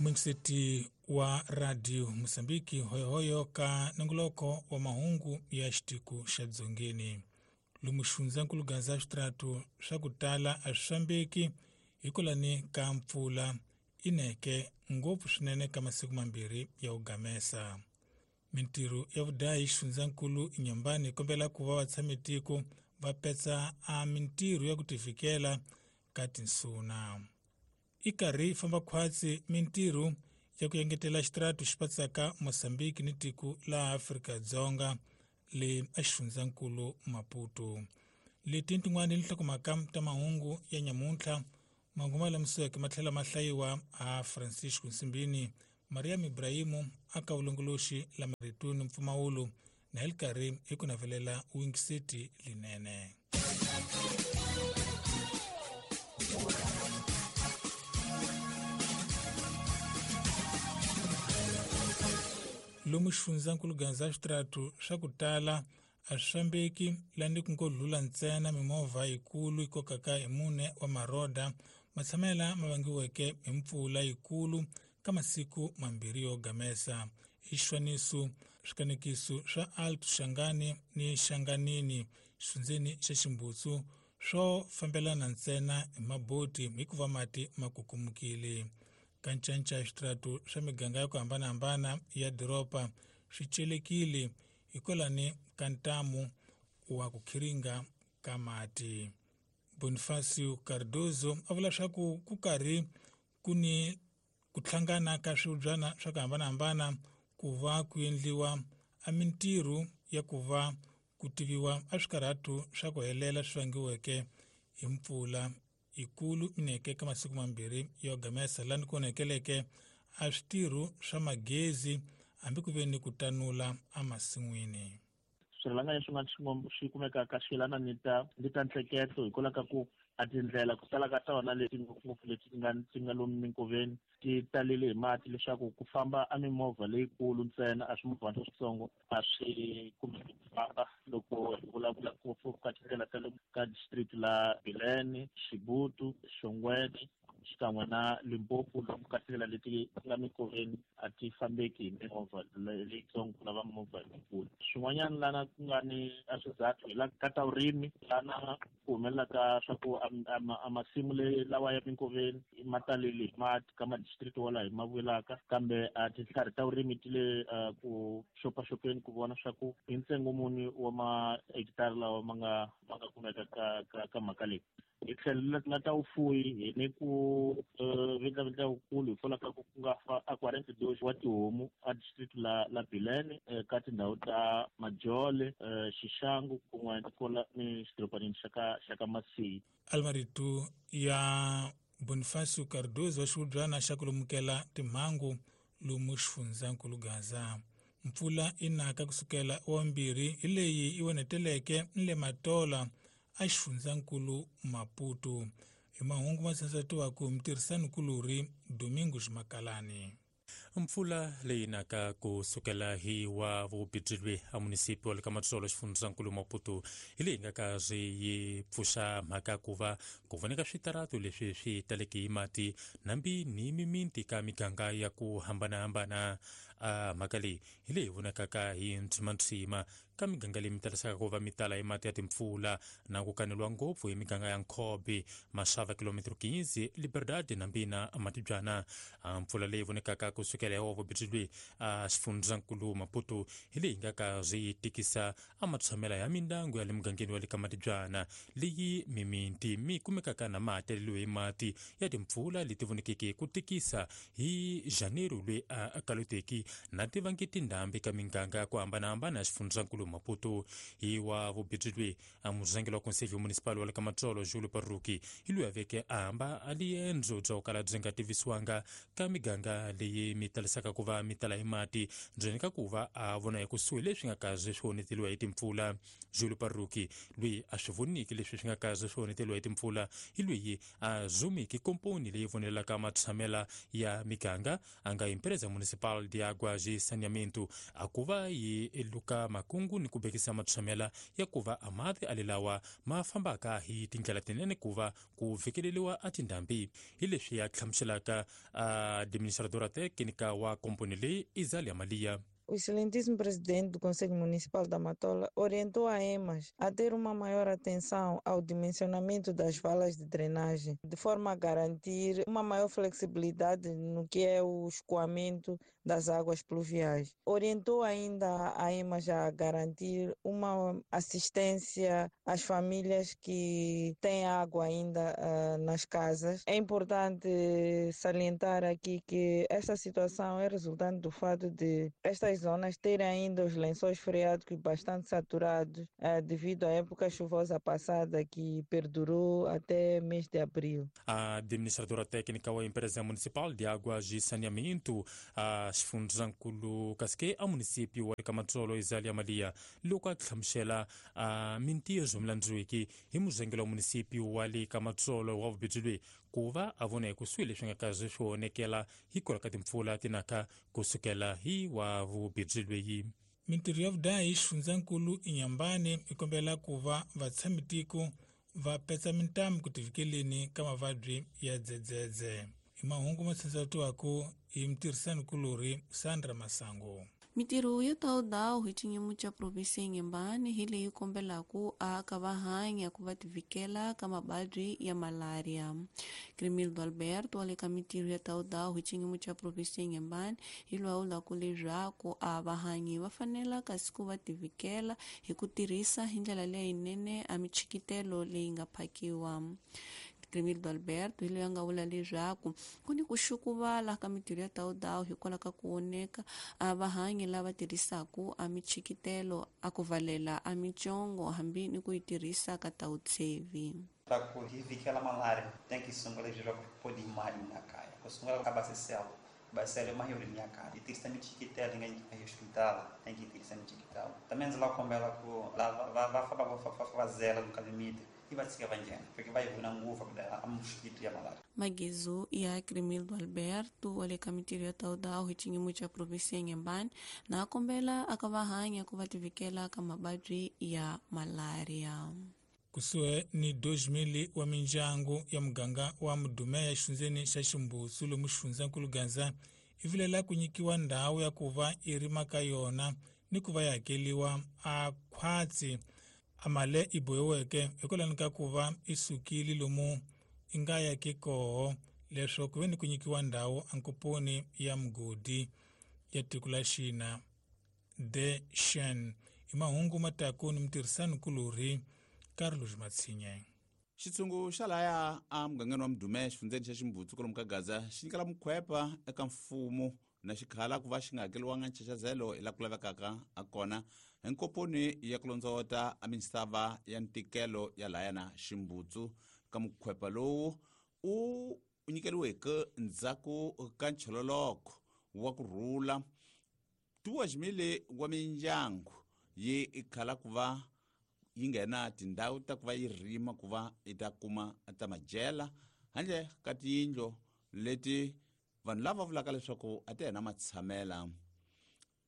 Muingiseti wa Radio Mosambiki hoyohoyo ka nongoloko wa mahungu ya xitiko xa Dzongeni. Lomu xifundzankulu Gaza switrato swa ku tala a swi fambeki hikwalani ka mpfula ineke ngopfu swinene ka masiku mambirhi ya ku gamesa. Mintirho ya vudahi xifundzankulu Inhambane yi kombela ku va vatshamitiko va petsa a mintirho ya ku tivikela ka tinsuna. I karhi yi famba khwatsi mintirho ya ku engetela xitrato xi patsaka Mozambique ni tiko la Afrika-Dzonga le a xifundzankulu Maputo. Leti tin'wana ni nhlokomhaka ta mahungu ya nyamuntlha mahungu ma lamisiweke ma tlhela ma hlayiwa a Francisco Nsimbini, Mariam Ibrahimu aka vulongoloxi la marito ni mpfumawulo na hi li karhi hi ku navelela wingiseti linene. Lomu xifundzankulu Gaza switrato swa ku tala a swi fambeki lani ku ngo dlula ntsena mimovha yikulu yi kokaka hi mune wa maroda matshamela ma vangiweke hi mpfula yikulu ka masiku mambirhi yo gamesa. Hi xifaniso swikanekiso swa Alto Shangani ni Shanganini xifundzeni xa Ximbutsu swo fambelana ntsena hi maboti hikuva mati ma kukumukile. Ka ncanca switrato swa miganga ya ku hambanahambana ya doroba swi celekile hikwalani ka ntamu wa ku khiringa ka mati. Bonifacio Cardozo a vula swa ku ku karhi ku ni ku hlangana ka swibyana swa ku hambanahambana ku va ku endliwa a mintirho ya ku va ku tiviwa a swikarhatu swa ku helela swi vangiweke hi mpfula yikulu ineke ka masiku mambirhi yo gamesa lani ku onhekeleke a switirho swa magezi hambi ku ve ni ku tanula emasin'wini. Swirhalanganyi swin'wana swi kumekaka swi yelana ni ta ni ta ntleketlo hikwalaho ka ku a tindlela ku tala ka tona leti ngopfungopfu leti ti nga lomu minkoveni ti talele hi mati leswaku ku famba a mimovha leyikulu ntsena a swimovhana leswitsongo a swi kumeki ku famba loko hi vulavula ngopfu ka tindlela ta le ka district la Bilene, Xibutu, Xongweni xikan'we na Limpopo lomu ka tindlela leti nga minkoveni a ti fambeki hi mimovha leyitsongo ku lava mimovha leyikulu. Swin'wanyana lana ku nga ni a swizathu hi la ka ta vurimi lana ku humelela ka swa ku a masimu le lawa ya minkoveni ma talele hi mati ka ma-district wala hi ma vulaka kambe a tintlhari ta vurimi ti le ku xopaxopeni ku vona swa ku i ntsengo muni wa ma-hectare lawa ma nga kumeka ka mhaka leyi. Hi tlhelo la ta vufuwi hi ni ku vindlavindla wukulu hikwalaho ka ku ku nga fa a 42 wa tihomu a district la Bilene ka tindhawu ta Majole, Xixangu kun'we ni ni xidorobanini xa ka Masiyi. Almarito ya Bonifacio Cardozo wa xihubyana xa ku lumukela timhangu lomu xifundzankulu Gaza. Mpfula yi naka kusukela wa mbirhi hi leyi yi onheteleke ni le Matola a xifundzankulu Maputo. Hi mahungu ma tsandzatiwaka hi mutirhisani-kulorhi Domingos Makalani. Mpfula leyi naka ku sukela hi wa vubijilwe a munisipi wa le ka Matsolo xifundzankulu Maputo hi leyi nga ka swi yi pfuxa mhaka ku va ku voneka switaratu leswi swi taleke hi mati nambi ni miminti ka miganga ya ku hambanahambana. A mhaka leyi hi leyi vonakaka hi ntshimantshima ka miganga leyi mi talisaka ku va mi tala hi mati ya timpfula na ku kaneliwa ngopfu hi miganga ya Nkhobi, Maxava, kilometro 15, Liberdade nambi na Matibyana. Mpfula leyi vonekaka ku sukela hi wa vubijilwi a xifundzankulu Maputo hi leyi nga ka swi tikisa a matshamela ya mindyangu ya le mugangeni wa le ka Matibyana leyi miminti mi kumekaka na ma taleliwe hi mati ya timpfula leti vonekeke ku tikisa hi Janeiro loyi a kaloteki na tivangi tindhambi ka miganga ya ku hambanahambana ya xifundzankulu Maputo. Hi wa vubijilwi a murhangeri wa conselho municipal wa le ka Matsolo Julio Parruki hi loyi a veke a hamba a liendzo bya ku kala byi nga tivisiwanga ka miganga leyi mi talisaka ku va mi tala hi mati ndzeni ka ku va a vona hi kusuhi leswi nga kaze swi onheteliwa hi timpfula. Julio Parruki loyi a swi voniki leswi swi nga kaze swi onheteliwa hi timpfula hi loyi a zumiki komponi leyi vonelaka matshamela ya miganga a nga empresa municipal de água. Água e Saneamento a ku va yi luka makungu ni ku bekisa matshamela ya ku va a mati alelawa ma fambaka hi tindlela tinene ku va ku fikeleriwa a tindhambi. Hi leswi ya hlamuselaka administradora técnica wa komponi leyi Izalia Malia. O excelentíssimo presidente do Conselho Municipal da Matola orientou a EMAS a ter uma maior atenção ao dimensionamento das valas de drenagem, de forma a garantir uma maior flexibilidade no que é o escoamento das águas pluviais. Orientou ainda a EMAS a garantir uma assistência às famílias que têm água ainda nas casas. É importante salientar aqui que esta situação é resultante do fato de estas zonas terem ainda os lençóis freáticos bastante saturados devido à época chuvosa passada que perdurou até mês de abril. A administradora técnica da empresa municipal de águas e saneamento, a Xifundzankulu Kasike, a município wa Kamatsolo Izalia Malia, loko a hlamusela a mintirho milandzuiki hi muzengelo wa município wa le Kamatsolo wa vubijilwe ku va a vona ekusuhi leswi nga kazi swi onekela hikwalaho ka timpfula tinaka kusukela hi wa vubijilweyi. Mintirho ya vudahi xifundzankulu Inhambane yi kombela ku va vatshamitiko va petsa mintamu ku tivikeleni ka mavabyi ya dzedzedze. Hi mahungu ma tshatsatiwaka hi mutirhisanikulorhi Sandra Masango. Mintirho yo tawudawu hi xinyimo xa provinsi ya Inhambane hi leyi kombelaku aka va hanya ku va tivikela ka mavabyi ya malaria. Crimildo Alberto wa le ka mintirho ya tawudawu hi xinyimo xa provinsi ya Inhambane hi lwawulaku leswaku a vahanyi va fanela kasi ku va tivikela hi ku tirhisa hi ndlela leyinene a michikitelo leyi nga phakiwa. Crimildo Alberto hi loyi a nga vula leswaku ku ni ku xukuvala ka mintirho ya tawudawu hikwalaho ka ku oneka a vahanyi lava tirhisaku a michikitelo a ku valela a mitsongo hambi ni ku yi tirhisa ka tawutshevi. Ta ku hi vikela malaria tem que sungula leswaku podi mali na kaya ku sungula ka basisela basisela mahirimi ya kaya yi tirhisa michikitelo yi nga yi hospital tem que tirhisa michikitelo também ndzi lava kombela ku lava va famba va fazela no limite e va tshika va nghena porque va yi vona ngopfu ku a mosquito ya malaria. Magezu ya Crimildo Alberto wa le ka mintirho ya tawudawu hi xinyimo xa provinsi ya Inhambane na kombela aka va hanya ku va tivikela ka mavabyi ya malaria. Kusuhi ni 2000 wa mindyangu ya muganga wa Mudumeya xifundzeni xa Ximbusu lomu xifundzankulu Gaza i vilela ku nyikiwa ndhawu ya ku va i rima ka yona ni ku va yi hakeliwa a khwatsi amale i bohiweke hikwalaho ka ku va i sukile lomu i nga yaki koho leswaku ku ve ni ku nyikiwa ndhawu ankoponi ya mugodi ya tiko la Xina de Shen. I mahungu mataku ni mutirhisanikulorhi Carlos Matsinye. Xitshungu xa laya a mugangeni wa Mudume xifundzeni xa Ximbutsu kwalomu ka Gaza xi nyikela mukhwepa eka mfumo na xikhala ku va xi nga hakeliwanga nchachazelo hi la ku lavekaka a kona hi nkoponi ya ku londzovota a misava ya ntikelo ya laya na Ximbutsu. Ka mukhwepa lowu u nyikeriweke ndzhaku ka nchololoko wa ku rhula 2,000 wa mindyangu yi khala ku va yi nghena tindhawu ta ku va yi rima ku va yi ta kuma ta madyela handle ka tiyindlu leti vanhu lava vulaka leswaku a ti hena matshamela.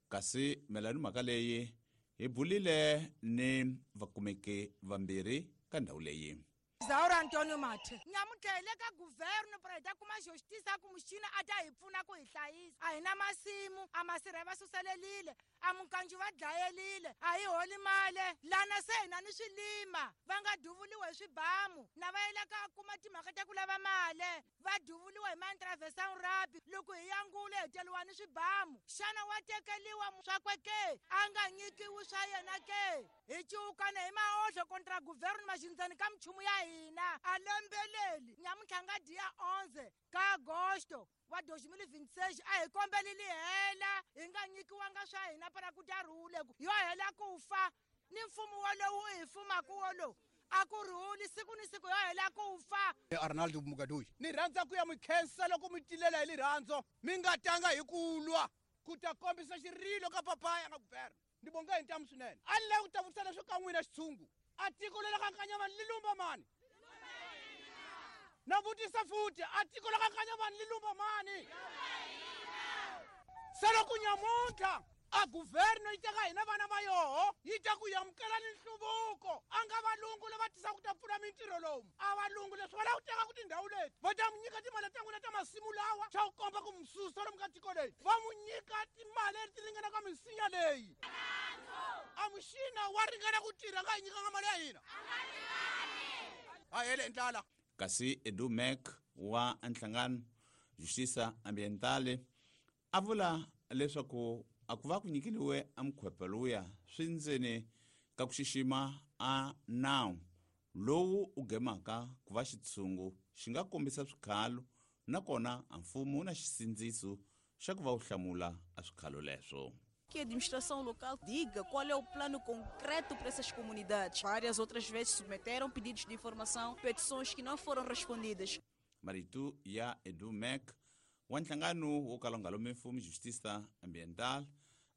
Kasi mayelana ni mhaka leyi hi bulile ni vakumeki vambirhi ka ndhawu leyi. Zaura Antonio Mathe nyamuntlha hi le ka guverno para hi ta kuma justice ku muxina a ta hi pfuna ku hi hlayisa. A hi na masimu, a masirha va suselelile, a mukanju va dlayelile, a hi holi mali lana se hina ni swilima va nga duvuliwa hi swibamu na va yela ka kuma timhaka ta ku lava mali va duvuliwa hi ma-intervention rabi loko hi yangule hi teliwa ni swibamu. Xana wa tekeliwa swakwe ke a nga nyikiwi swa yena ke? Hi ciukana hi maohlo kontra guverno maxindzani ka minchumu ya hina a lembeleli nyamuntlha nga dia 11 ka agosto wa 2026 a hi kombeleli hela hi nga nyikiwanga swa hina para ku ta rhule ku yo hela ku fa ni mfumo wolowu u hi fumaka wolowu a ku rhuli siku ni siku yo hela ku fa. Arnaldo Mugadoyi ni rhandza ku ya mi khensa loko mi tilela hi rirhandzu mi nga tanga hi ku lwa ku ta kombisa xirilo ka papaya nga guverno. Ni bonga hi ntamu swinene a ni lavi ku ta vutisa leswo ka n'wina xitshungu a tiko leri ka Nkanyamani li lumba mani? Na vutisa futhi a tiko la ka Nkanyamani li lumba mani? Se loko nyamuntlha a guverno yi teka hina vana va yoho yi ta ku amukela ni nhluvuko, a nga valungu lava tisaka ku ta pfuna mintirho lomu, a valungu leswi va lava ku teka ku tindhawu leti va ta mu nyika timali ta n'wina ta masimu lawa xa ku komba ku mususa lomu ka tiko leyi, va mu nyika timali leti ringanaka misinya leyi. A muxina wa ringana ku tirha nga hi nyikanga mali ya hina, a hele ndlala. Kasi Edu Mac wa nhlangano Justiça Ambiental a vula leswaku a ku va ku nyikeliwe a mukhwepa luya swi ndzeni ka ku xixima a nawu lowu u gemaka ku va xitshungu xi nga kombisa swikhalo, nakona a mfumo wu na xisindziso xa ku va wu hlamula a swikhalo leswo. Que a administração local diga qual é o plano concreto para essas comunidades. Várias outras vezes submeteram pedidos de informação, petições que não foram respondidas. Marito ya Edu Mac wa nhlangano wo kala wu nga lomi mfumo Justiça Ambiental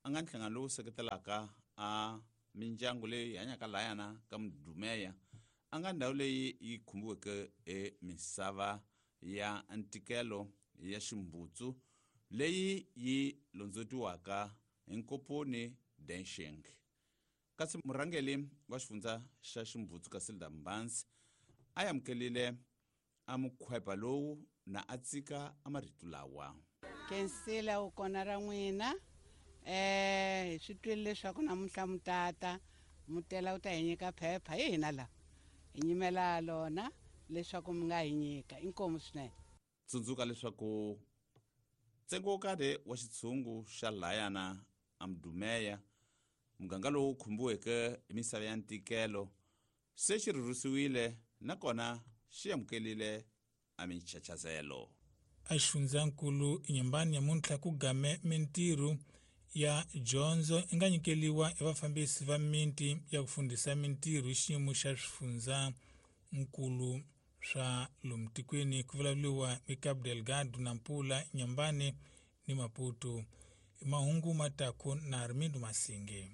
a nga nhlangano lowu seketelaka a mindyangu leyi hanyaka layana ka Mudumeya, a nga ndhawu leyi yi khumbiweke emisava ya ntikelo ya ximbutsu leyi yi londzetiwaka hi Nkoponi Densheng. Kasi murhangeri wa xifundza xa Ximbutsu Casilda Mbanzi a amukelile a mukhwepa lowu na a tsika a marito lawa. Kensila u kona ra n'wina, hi swi twile leswaku namuntlha mutata mutela u ta hi nyika phepha, hi hina la hi nyimela lona leswaku mi nga hi nyika, inkomu swinene. Tsundzuka leswaku ntsengo wo karhi wa xitshungu xa layana a Mudumeya, muganga lowu khumbiweke hi misava ya ntikelo, se xi rhurhisiwile nakona xi amukelile a minchachazelo. A xifundzankulu Inhambane nyamuntlha ku game mintirho ya dyondzo i nga nyikeliwa hi vafambisi va miti ya ku fundhisa mintirho hi xiyimo xa swifundzankulu swa lomu tikweni, ku vulavuriwa hi Cabo Delgado, Nampula, Inhambane ni Maputo. Mahungu mataku na Armindo Masinge.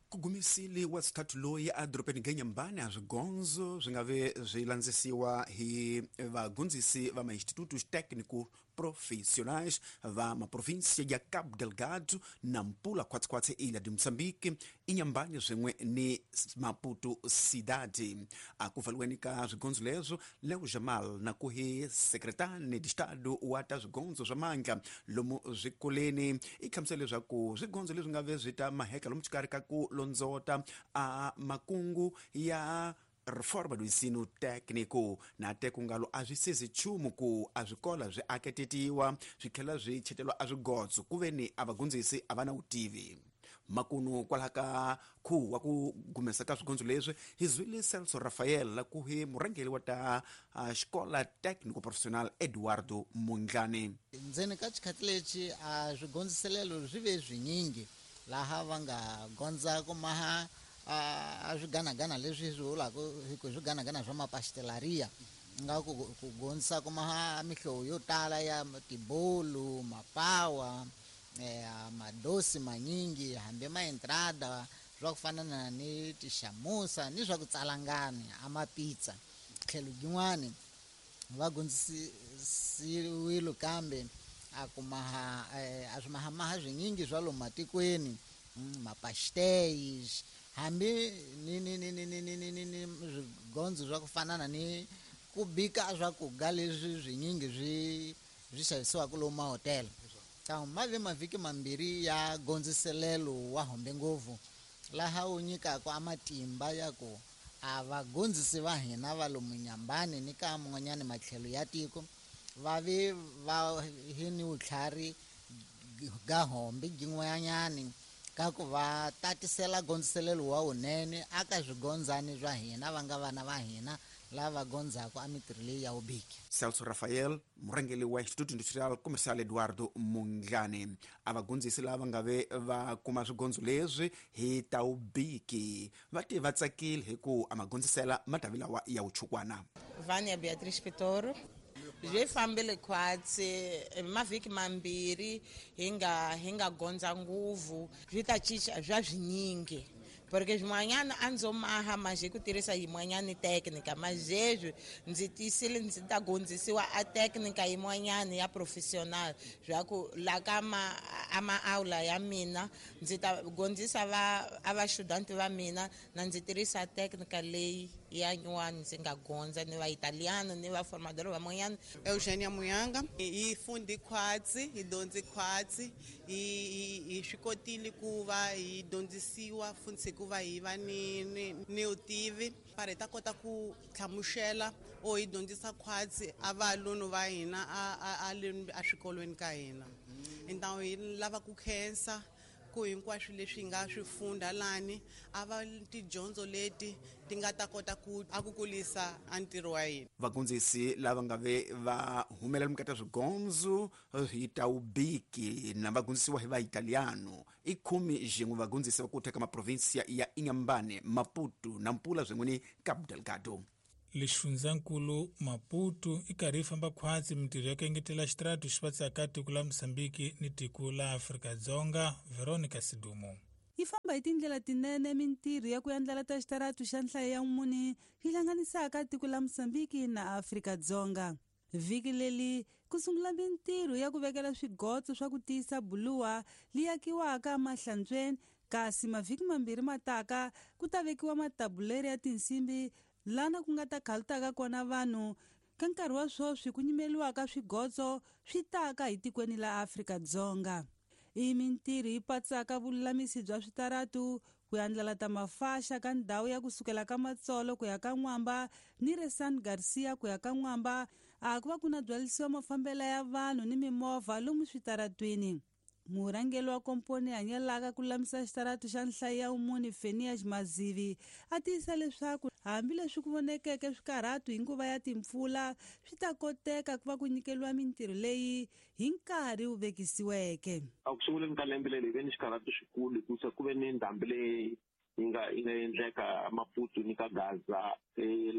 Ku gumisile wa xithathu loyi a dorobeni Inhambane a swigondzo swi nga ve swi landzisiwa hi vagondzisi va ma-institutos técnico profissionais va maprovinsia ya Cabo Delgado, Nampula, khwatsikhwatsi Ilha de Moçambique, Inhambane swin'we ni Maputo Cidade. A ku pfaliweni ka swigondzo leswo, Leo Jamal na ku hi secretane de Estado wa ta swigondzo swa mandla lomu swikoleni i hlamusela leswaku swigondzo leswi nga ve swi ta maheka lomu xikarhi ka ku londzota a makungu ya reforma do ensino técnico na te ku ngalo a swi sezi nchumu ku a swikola swi aketetiwa swi tlhela swi chetelwa a swigotso ku ve ni a vagondzisi a va na vutivi. Makunu kwalaha ka khuwa wa ku gumesa ka swigondzo leswi hi zwile Celso Rafael la ku hi murhangeri wa ta xikola técnico profissional Eduardo Mondlane. Ndzeni ka xikhathi lexi a swigondziselelo swi ve swinyingi laha va nga gondza ku maha a swiganagana leswi swi vulaka hi ku swiganagana swa mapastelaria, nga ku gondzisa ku maha mihlovo yo tala ya tibolu, mapawa, madosi manyingi, hambi ma entrada swa ku fana na ni tixamusa ni swa ku tsalangani a mapizza. Tlhelo yin'wani va gondzisiwile kambe a ku maha a swi mahamaha swinyingi swa lomu matikweni, mapastéis, hambi ni ni ni ni ni ni ni ni ni swigondzo swa ku fana na ni ku bika swakudya leswi swinyingi swi swi xavisiwaka lomu mahotela. Kambe ma ve mavhiki mambirhi ya gondziselelo wa hombe ngopfu laha wu nyikaka a matimba ya ku a vagondzisi va hina va lomu Inhambane ni ka man'wanyana matlhelo ya tiko va ve va hi ni vutlhari ga hombe byin'wanyani ka ku va tatisela gondziselelo wa wunene aka swigondzani swa hina va nga vana va hina lava gondzaka a mitirho leyi ya vubiki. Celso Rafael, murhangeri wa Instituto Industrial Comercial Eduardo Mondlane, a vagondzisi lava nga ve va kuma swigondzo leswi hi ta vubiki va te va tsakile hi ku a magondzisela matavi lawa ya vuchukwana. Vania Beatriz Pitoro, byi fambile khwatsi mavhiki mambirhi hi nga gondza nguvu, byi ta cinca bya swinyingi. Porque swin'wanyana a ndzo maha maje ku tirhisa yin'wanyana teknika, mazezwi ndzi tiyisile ndzi ta gondzisiwa a teknika yin'wanyana ya professional swa ku la ka ma a maaula ya mina ndzi ta gondzisa va a va student va mina na ndzi tirhisa teknika leyi ya nyuwani ndzi nga gondza ni va italiano ni va formador van'wanyana. Eugenia Muyanga hi fundi khwatsi, hi dyondzi khwatsi, hi swi kotile ku va hi dyondzisiwa funtsi ku va hi va ni vutivi para hi ta kota ku hlamusela o hi dyondzisa khwatsi a valunu va hina a swikolweni ka hina. Então hi lava ku khensa ku hinkwaswo leswi hi nga swi funda lani a va tidyondzo leti ti nga ta kota ku a ku kulisa a ntirho wa hina. Vagondzisi lava nga ve va humelela mukati swigondzo hi taubiki na vagondzisiwa hi vaitaliano i 11 vagondzisi va ku teka maprovinsia ya Inhambane, Maputo, Nampula swin'we ni Cabo Delgado. Lexifundzankulu Maputo i karhi yi famba khwatsi mintirho ya ku engetela xitaratu xi vatsaka tiko la Mozambique ni tiko la Afrika-Dzonga. Veronica Sidumo. Yi famba hi tindlela tinene mintirho ya ku endlela ta xitaratu xa nhlayo ya mune yi hlanganisaka tiko la Mozambique na Afrika-Dzonga. Vhiki leri ku sungula mintirho ya ku vekela swigotso swa ku tiyisa buluwa leyi akiwaka emahlantsweni, kasi mavhiki mambirhi mataka ku ta vekiwa matabuleri ya tinsimbi lana ku nga ta khalutaka kona vanhu. Ka nkarhi wa sweswi ku nyimeliwaka swigotso swi taka hi tikweni la Afrika-Dzonga. I mintirho yi patsaka vululamisi bya switaratu, ku andlala ta mafaxa ka ndhawu ya kusukela ka Matsolo ku ya ka N'wamba ni re San Garcia ku ya ka N'wamba, a ku va ku na byalisiwa mafambela ya vanhu ni mimovha lomu switaratwini. Murhangeri wa komponi hanyelaka ku lulamisa xitaratu xa nhlayo ya umuni Fenias Mazivi a tiyisa leswaku hambileswi ku vonekeke swikarhatu hi nguva ya timpfula swi ta koteka ku va ku nyikeliwa mintirho leyi hi nkarhi wu vekisiweke. A ku sunguleni ka lembe leri hi ve ni xikarhatu xikulu hikusa ku ve ni ndhambi leyi yi nga endleka Maputo ni ka Gaza,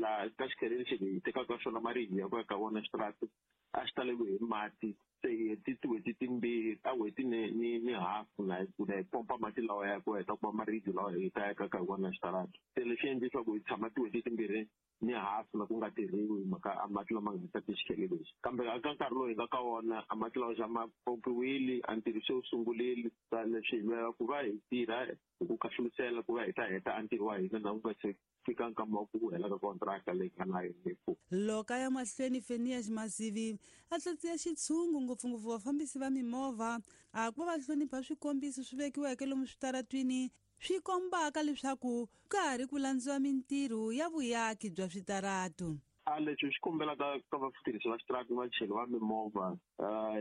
laha ka xikhele lexi hi tekaka xona maribye ya ku ya ka vona xitaratu a xi taleriwe hi mati. Se hi heti tin'hweti timbirhi ta n'hweti ni hafu na hi pompa mati lawa ya ku heta kuma maribye lawa hi ta yakaka hi wona xitaratu. Se leswi endle leswaku hi tshama tin'hweti timbirhi ni hafu na ku nga tirhiwi hi mhaka a mati lama nga ta xikhele lexi. Kambe eka nkarhi lowu hi nga ka wona a mati lawa xa ma pompiwile, a ntirho se wu sungurile. Leswi hi lwela ku va hi tirha hi ku khahlulisela ku va hi ta heta a ntirho wa hina na ku nga se fika nkama wa ku hela ka kontraka leyi nga na yona. Loko a ya mahlweni Fenias Mazivi a tlatsiya xitshungu ngopfungopfu vafambisi va mimovha a ku va va hlonipha swikombiso swi vekiweke lomu switaratwini swi kombaka leswaku ka ha ri ku landziwa mintirho ya vuyaki bya switaratu. A leswi swi kombelaka ka vatirhisi va xitaratu vachayeri va mimovha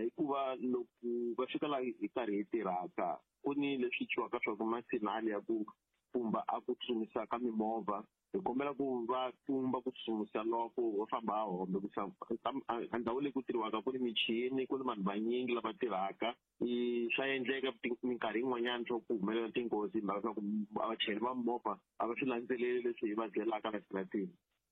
hikuva loko va fika laha hi karhi hi tirhaka ku ni leswi twiwaka swa ku masinali ya ku pfumba a ku tsutsumisa ka mimovha, hi kombela ku va pfumba ku tsutsumisa loko va famba a hombe ku a ndhawu leyi ku tirhiwaka ku ni michini, ku ni vanhu vanyingi lava tirhaka. Swa endleka minkarhi yin'wanyana swa ku humelela tinghozi hi mhaka swa ku vachayeri va mimovha a va swi landzeleli leswi hi va byelaka la xitaratini.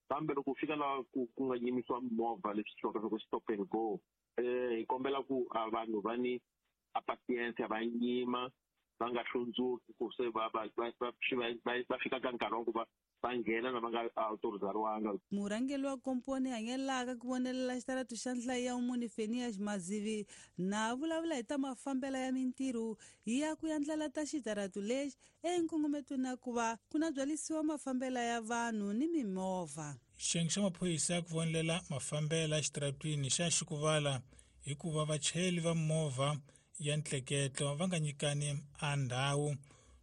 Kambe loko u fika laha ku nga yimisiwa mimovha leswi twiwaka swa ku stop and go, hi kombela ku a vanhu va ni a patience, va yima va nga hlundzuki ku se va fika ka nkarhi wa ku va nghena na va nga autorizariwanga. Murhangeri wa komponi hanyelaka ku vonelela xitaratu xa nhlayo ya umuni Fenias Mazivi na vulavula hi ta mafambela ya mintirho ya ku andlala ta xitaratu lexi enkongometweni na ku va ku na byalisiwa mafambela ya vanhu ni mimovha. Xiyenge xa maphorisa ya ku vonelela mafambela exitaratwini xa xikuvala hikuva vachayeri va movha ya ntleketlo va nga nyikani a ndhawu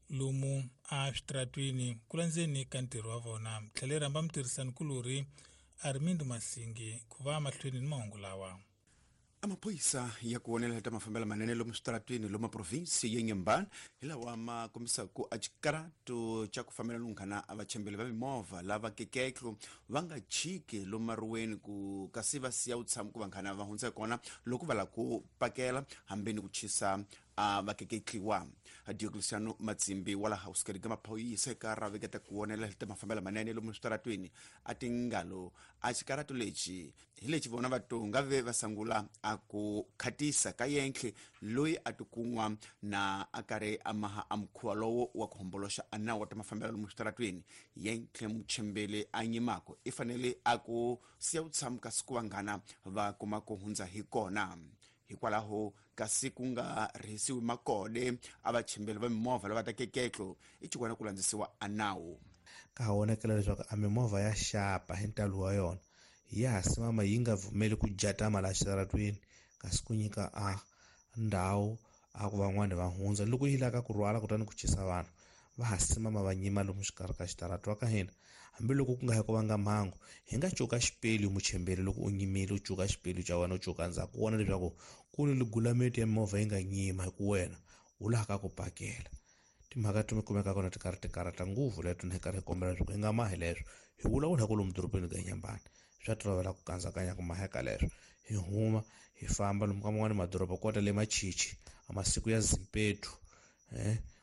lomu a switaratwini ku landzeni ka ntirho wa vona. Tlhele rhamba mutirhisanikulorhi Armindo Masingi ku va mahlweni ni mahungu lawa. Amaphoyisa ya ku vonelela ta mafambelo manene lomu switaratwini lomu provinsi ya Inhambane hi lawa ma kombisaka a xikaratu xa ku fambela lunghana a vachembeli va mimovha lava keketlo va nga chiki lomu maruweni ku kasi va siya vutshamo ku vanghana va hundza kona loko va lava ku pakela hambi ni ku chisa a va keketliwa. Diocleciano Matsimbi wa laha usikeri ka maphorisa eka raveketa ku vonela ta mafambelo manene lomu switaratweni a tingalo a xikarato lexi hi lexi vona vatonga ve va sangula a ku khatisa ka yenhle loyi a tikun'wa na a karhi a maha a mukhuva lowo wa ku homboloxa a nawu wa ta mafambelo lomu switaratweni. Yenhle muchembele a nyimako i fanele a ku siya ku tshama kasi ku vanghana va kuma ku hundza hi kona. Hikwalaho kasi ku nga rhisiwi makode a vachembeli va mimovha lava ta keketlo i xikwana ku landzisiwa a nawu. Ka ha vonakela leswaku a mimovha ya xapa hi ntalo wa yona ya ha simama yi nga pfumeli ku jatama laha xitaratweni, kasi ku nyika a ndhawu a ku van'wani va hundza loko yi lava ku rhwala kutani ku chisa vanhu va ha simama va nyima lomu xikarhi ka xitarata wa ka hina. Hambiloko ku nga ha ku vanga mhangu, hi nga cuka xipelu muchemberi loko u nyimile u cuka xipelu xa wena u cuka ndzhaku u vona leswaku ku ni ligulameti ya mimovha yi nga nyima hi ku wena u laha ka ku pakela. Timhaka ti kumeka kona ti karhi ti karhata ngopfu leto ni karhi hi kombela leswaku hi nga mahi leswo hi vulavula hi ku lomu dorobeni ka Nyambani swa tolovela ku kandzakanya ku maheka leswo hi huma hi famba lomu ka man'wani madoroba kota le Machichi a masiku ya Zimpetu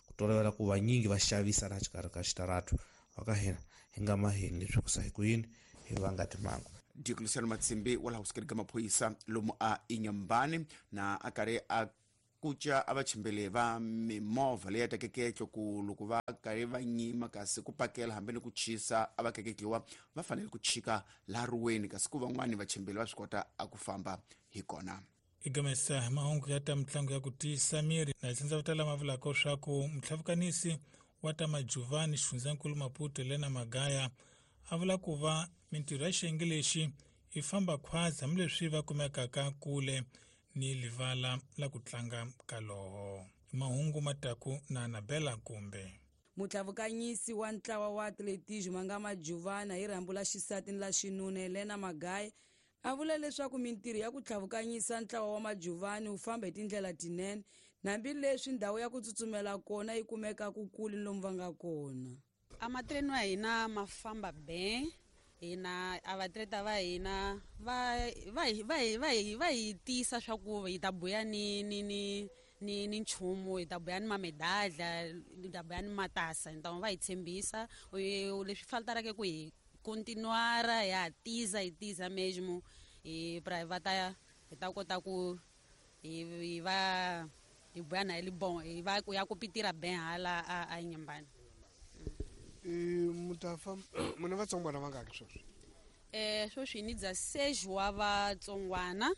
ku tolovela ku vanyingi va xavisa laha xikarhi ka xitaratu wa ka hina hi nga mahini leswi ku sa hi ku yini hi vanga timhangu. Diocleciano Matsimbi wa laha usikeri ka maphorisa lomu a Inyambani na a karhi a kuca a vachembele va mimovha leyi ya tekeketlo ku loko va karhi va nyima kasi ku pakela hambi ni ku chisa a va keketliwa va fanele ku chika laha ruweni kasi ku van'wani vachembeli va swi kota a ku famba hi kona. Igamesa hi mahungu ya ta mitlangu ya ku tiyisa miri na tsindza vutala ma vulaka swa ku mutlhavukanisi wa ta Majuvani xifundzankulu Maputo Helena Magaya a vula ku va mintirho ya xiyenge lexi yi famba khwazi hambileswi va kumekaka kule ni livala la ku tlanga kaloho. Mahungu mataku na Anabela Kumbe. Mutlavukanyisi wa ntlawa wa atletismo nga Majuvana hi rhambu la xisati ni la xinuna Helena Magaya a vula leswaku mintirho ya ku tlhavukanyisa ntlawa wa Majuvani wu famba hi tindlela tinene hambileswi ndhawu ya ku tsutsumela kona yi kumeka ku kule lomu va nga kona. A matreno ya hina ma famba ben, hina a vatleta va hina va hi tiyisa swa ku hi ta buya ni ni ni ni ni nchumu, hi ta buya ni mamedadla, hi ta buya ni matasa, hi ta va hi tshembisa leswi faltaraka ku hi continuar ya tiza hi tiza mesmo hi pra va ta hi ta kota ku hi va hi buya na hi bon hi va ku ya ku pitira ben hala a Nyambani. Mutafa muna vatsongwana vangaki sweswi? Sweswi ni dza 6 wa vatsongwana.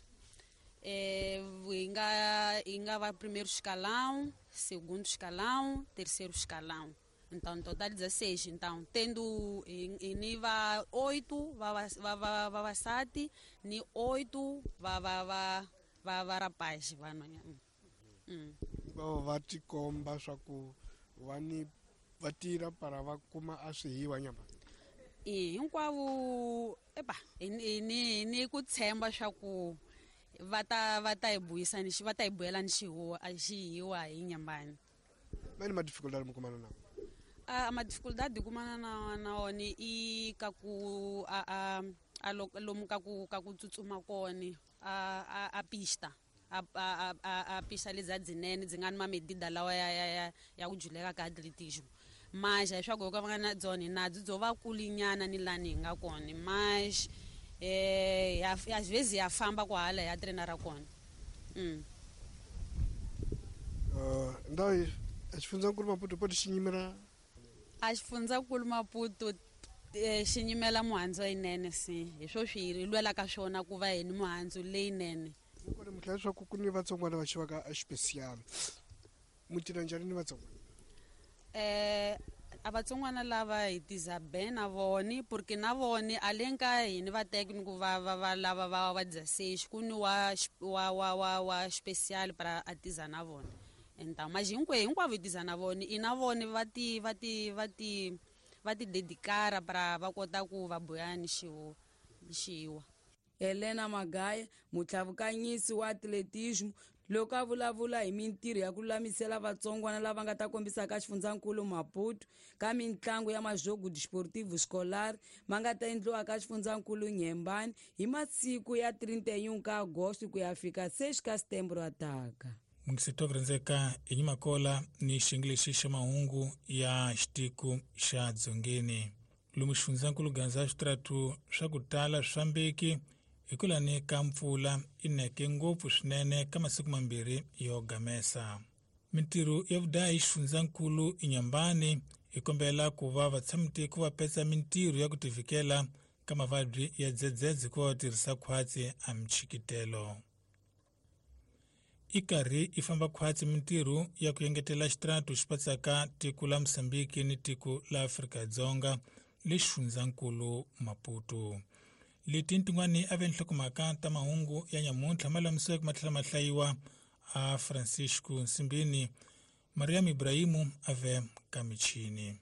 Hi nga va primeiro escalão, segundo escalão, terceiro escalão. Então, total 16. Então, tendo ni va 8 va vavasati ni 8 va rapaz vanhwanyana. Va tikomba swa ku va ni va tirha para va kuma a swihiwa nyama. Hinkwavo epa ni ni ku tshemba swa ku va ta hi buyisa ni va ta hi buyela ni xihuwa a xihiwa hi Nyambani. Mani ma dificuldade mi kumana na? A ma dificuldade kumana na wona i ka ku a lomu ka ku tsutsuma kona a pista a pista leza dzinene dzi nga ni mamedida lawa ya ku juleka ka atletismo. Mas leswaku ka va nga na dzona nadzo byo va kulinyana ni lani hi nga kona, mas às vezes ya famba kwahala ya treina ra kona. Ndhawu xifundzankulu Maputo poto xi nyimela a xifundzankulu Maputo xi nyimela muhandzu leyinene si hi swo swi hi lwelaka swona ku va hi ni muhandzu leyinene. Kona mutlhela leswaku ku ni vatsongwana va xivaka a xipesiyalo mu tirha njhani ni vatsongwana? A vatsongwana lava hi tiza ben na voni porque na voni a le ka hini va teki va va va lava va va 16 ku ni wa wa wa wa wa special para a tiza na vona. Então mas hinkwavo hi tiza na voni i na voni va ti va ti va ti va ti dedicara para va kota ku va buya ni xiwa. Helena Magaya mutlavukanyisi wa atletismo loko a vulavula hi mintirho ya ku lulamisela vatsongwana lava nga ta kombisa ka xifundzankulu Maputo ka mintlangu ya majogo desportivo escolar ma nga ta endliwa ka xifundzankulu Nyembani hi masiku ya 31 ka Agosto ku ya fika 6 ka Setembro ataka. Mungiseto kurhandzeka hi nyimakola ni xiyenge xa mahungu ya xitiko xa dzongeni. Lomu xifundzankulu Gaza switaratu swa ku tala swi fambeki hikulani ka mpfula i neke ngopfu swinene ka masiku mambirhi yo gamesa. Mintirho ya vudayi xifundzankulu Inhambane hi kombela ku va vatshamitiko va petsa mintirho ya ku tivikela ka mavabyi ya dzedzedze ku va va tirhisa khwatsi a michikitelo. I karhi i famba khwatsi mintirho ya ku engetela xitaratu xi patsaka tiko la Mozambique ni tiko la Afrika-Dzonga le xifundzankulu Maputo. Leti tin'wani a ve nhlokomhaka ta mahungu ya nyamuntlha ma lamisiweke ma tlhela ma hlayiwa a Francisco Nsimbini. Mariam Ibrahimu a ve ka michini.